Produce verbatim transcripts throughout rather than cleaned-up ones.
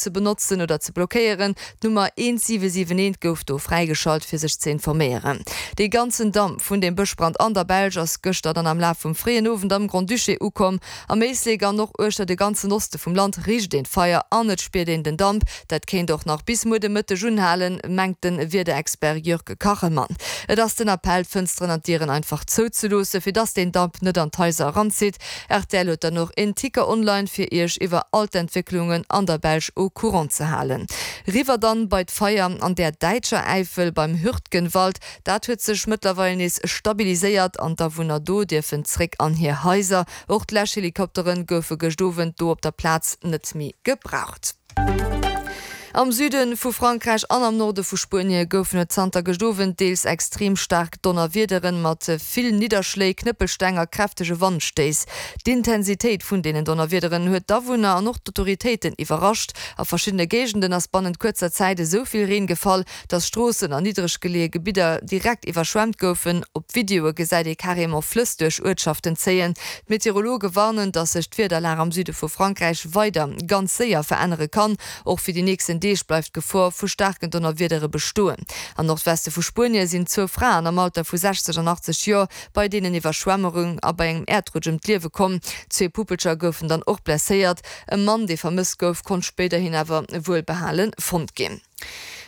ze benotzen oder ze blockéieren. D'Nummer eent siwe siwen eent gouf do fräigeschalt, fir sech ze informéieren. Dee ganzen Damp vun dem Bëschbrand an der Belsch ass gëschter dann am Laf vum fréien Owend am Grand-Duché ukomm. Am Éislek an och uechter de ganzen Oste vum Land richt een d'Feier an et spiert een den Damp. Dat kéint och nach bis muer de Mëtteg unhalen, mengt de Wiederexpert Jörg Kachelmann. Et ass den Appell, d'Fënsteren an d'Dieren einfach zouzeloossen, fir dass deen Damp net an d'Haiser eranzitt. Rtl huet dann och en Ticker online, fir Iech iwwer all d'Entwécklungen an der Belsch au courant ze halen. Riwwer dann bei d'Feier an der däitscher Äifel beim Hürtgenwald. Dat huet sech mëttlerweil nees stabiliséiert an d'Awunner do dierfen zréck an hir Haiser. Och d'Läschhelikoptere goufe gëscht Owend do op der Plaz net méi gebraucht. Am Süde vu Frankräich an am Norde vu Spuenie goufen et zanter gëscht Owend deels extrem staark Donnerwiederen mat vill Nidderschléi, Knëppelsteng a kräftege Wandstéiss. D'Intensitéit vun deenen Donnerwiederen huet d'Awunner an och d'Autoritéiten iwwerrascht. A verschiddene Géigenden ass bannent kuerzer Zäit esou vill Reen gefall, dass Stroossen an niddreg geleeë Gebidder direkt iwwerschwemmt goufen. Op Videoe gesäit ee carrément Flëss duerch Uertschaften zéien. D'Meteorologe warnen, dass sech d'Wiederlag am Süde vu Frankräich weider ganz séier verännere kann. Och fir déi nächsten Deeg bleift d'Gefor vu staarken Donnerwiedere bestoen. Am Nordweste vu Spuenie sinn zwou Fraen am Alter vu sechzeg an achtzeg Joer bei deenen Iwwerschwemmerung a bei engem Äerdrutsch ëm d'Liewe komm. Zwee Puppelcher goufen dann och blesséiert. E Mann, dee vermësst gouf, konnt spéiderhin awer wuelbehale fonnt ginn.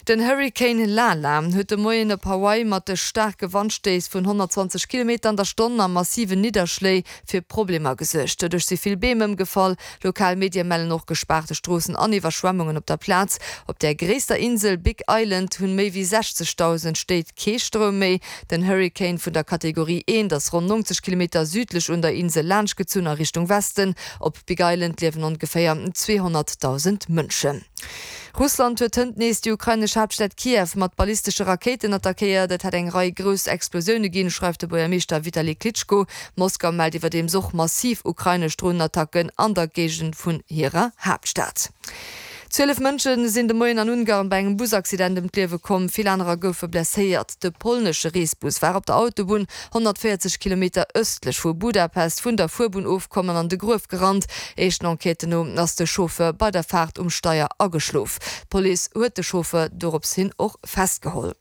Den Hurrikan Lala huet de Moien op Hawaii mat de staarke Wandstéiss vun honnertzwanzeg Kilometer an der Stonn a massiven Nidderschléi fir Problemer gesuergt. Doduerch si vill Beem ëmgefall. Lokal Medie mellen och gespaarte Stroossen an Iwwerschwemmungen op der Plaz. Op der gréisster Insel Big Island hunn méi wéi sechzegdausend Stéit kee Stroum méi. Den Hurrikan vun der Kategorie eent ass ronn neunzeg Kilometer südlech un der Insel laanschtgezunn a Richtung Westen. Op Big Island liewen ongeféier zweehonnertdausend Mënschen. Russland huet hënt nees déi ukrainesch Haaptstad Kiew mat ballistesche Rakéiten attackéiert. Et hätt eng Rei grouss Explosioune ginn, schreift de Buergermeeschter Vitali Klitschko. Moskau mellt iwwerdeems och massiv ukrainesch Dronenattacken an der Géigend vun hirer Haaptstad. Zwielef Mënsche sinn de Moien an Ungarn bei engem Busaccident ëm d'Liewe komm, vill anerer goufe blesséiert. De polnesche Reesbus war op der Autobunn honnertvéierzeg Kilometer ëstlech vu Budapest vun der Fuerbunn ofkomm an an de Gruef gerannt. Éischten Enquêten no ass de Chauffeur bei der Faart um Steier ageschlof. D'Police huet de Chauffeur dorops hin och festgeholl.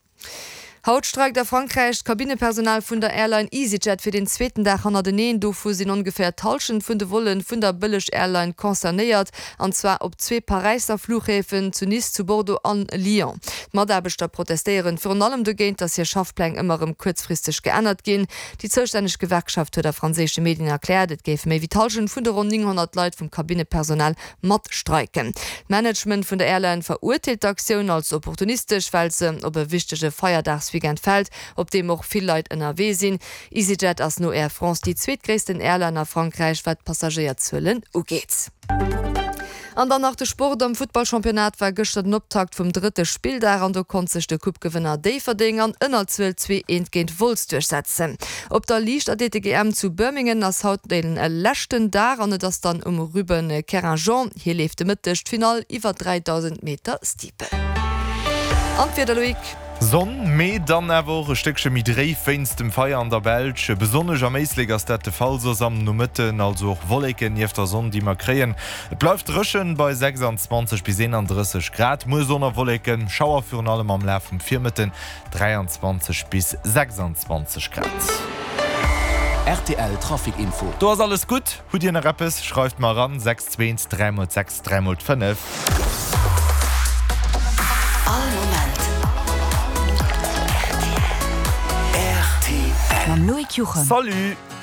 Haut streikt a Frankräich d'Kabinnepersonal vun der Airline EasyJet fir den zweeten Dag hannerteneen. Dovu sinn ongeféier d'Hallschent vun de Volle vun der Bëlleg-Airline concernéiert, an zwar op zwee Paräisser Fluchhäfen, zu Nice, zu Bordeaux an Lyon. D'Mataarbechter protestéieren virun allem dogéint, datt hir Schaffpläng ëmmer erëm kuerzfristeg geännert ginn. Déi zoustänneg Gewerkschaft huet a franséische Medien erkläert, et géife méi wéi d'Hallschent vun de ronn nénghonnert Leit vum Kabinnepersonal mat streiken. D'Management vun der Airline verurteelt d'Aktioun als opportunistesch, well se op e wichtege Feierdagsweekend fält, op deem och vill Leit ënnerwee sinn. EasyJet ass no Air France déi zweetgréissten Airline a Frankräich, wat d'Passagéierzuelen ugeet. An dann nach de Sport, Am Futtballchampionnat war gëschter den Optakt vum drëtte Spilldag an do konnt sech de Coupe-Gewënner Déifferdeng an Ënnerzuel zwee eent géint Wolz duerchsetzen. Op der Liichtathletik-E M zu Birmingham ass haut de leschten Dag an et ass dann um Ruben Kerrinjean. Hie leeft de Mëtteg d'Finall iwwer dräidausend Meter Steeple. An d'Wieder, Loïc? Sonn, mee dann awer och e Stéckche méi dréif wéinst dem Feier an der Belsch. Besonnesch am Éislek ass dat de Fall, soss am Nomëtten also och Wolleken nieft der Sonn, déi mer kréien. Et bleift dréchen bei sechsandzwanzeg bis eenandrësseg Grad. Muer Sonn a Wolleken, Schauer virun allem am Laf vum Virmëtten, dräiandzwanzeg bis sechsandzwanzeg Grad. Rtl Trafic Info. Do ass alles gutt. Hutt Dir nach eppes? Schreift mer eran, sechs zwee eent dräi mol sechs dräi mol fënnef. All Moment rtl. Mam Loïc Juchem. Salut!